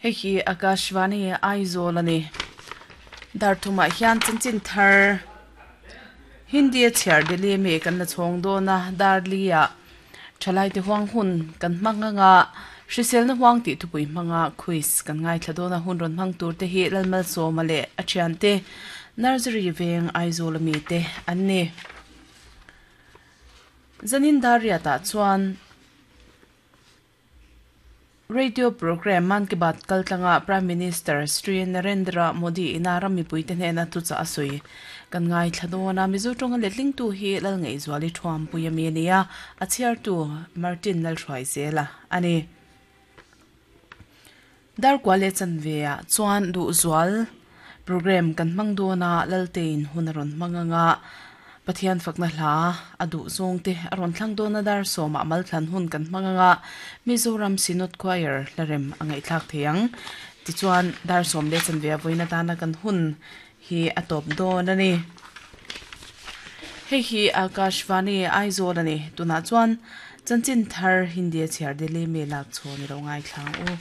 Hei hi Akashvani Aizawl a ni. Dar thumah hian chanchin thar Hindi a chhiar Delhi ami kan la chhawng dawn a, dar li ah thalai te huang hun kan hmang ang a, hriselna huang tih thupui hmanga quiz kan ngaithla dawn a, hun rawn hmang tur te hi Lalmalsawma leh a thiante Nursery veng Aizawl ami te an ni. Zanin dar riat ah chuan. Radio Programme Mann Ki Baat kaltlanga Prime Minister Shri Narendra Modi ina ram mipuite hnena thuchah a sawi kan ngaithla dawn a. Mizo tawnga letlingtu hi Lalngaihzuali Thuampui ami a ni a, a chhiartu Martin Lalhruaizela a ni. Darkua leh chanve ah chuan duhzual programme kan hmang dawn a, Laltein hun a rawn hmang ang a, Pathian fakna hla a duh zawng te a rawn thlang dawn a, dar sawmah malthlan hun kan hmang ang a, Mizoram Synod Choir hla rem a ngaihthlak thei ang. Tichuan dar sawm leh chanve a vawiin atana kan hun hi a tawp dawn a ni. Hei hi Akashvani Aizawl a ni. Tunah chuan chanchin thar Hindi a chhiar Delhi mi lak chhawn i lo ngaithla ang u.